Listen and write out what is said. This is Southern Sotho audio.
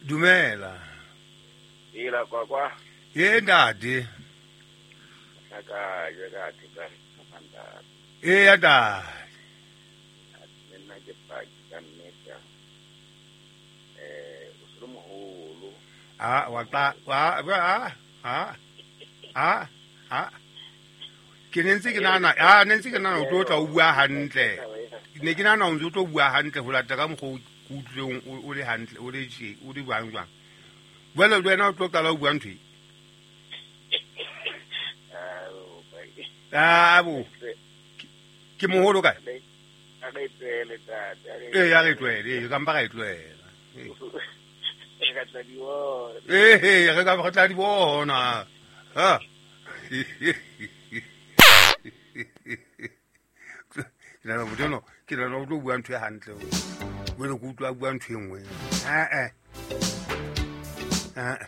Dumela. Ila kwa kwa. Ye ntate. Ka je ka theka ntate. E ya ntate. Le nna ke paki ka nnete. O se le moholo. A wa tla wa a a a a ke ne ntse ke nahana a ne ntse ke nahana o tlo tla o bua hantle. Ne ke nahana o ntse o tlo bua hantle ho lata ka mokgwa o ke utlwileng o le hantle o le tje o le jwang jwang. Jwale le wena o tlo qala o bua ntho e. A bo. Ke moholo kae? A re tlohele ntate. Ee, a re tlohele, ee, ka mpa ra e tlohela. Re ka tla di bona. Ee, re ka re tla di bona. Ha. Ke nahana motho enwa, ke nahana o tlo bua ntho e hantle. Jwale ke utlwa a bua ntho e nngwe. Eh eh. Eh.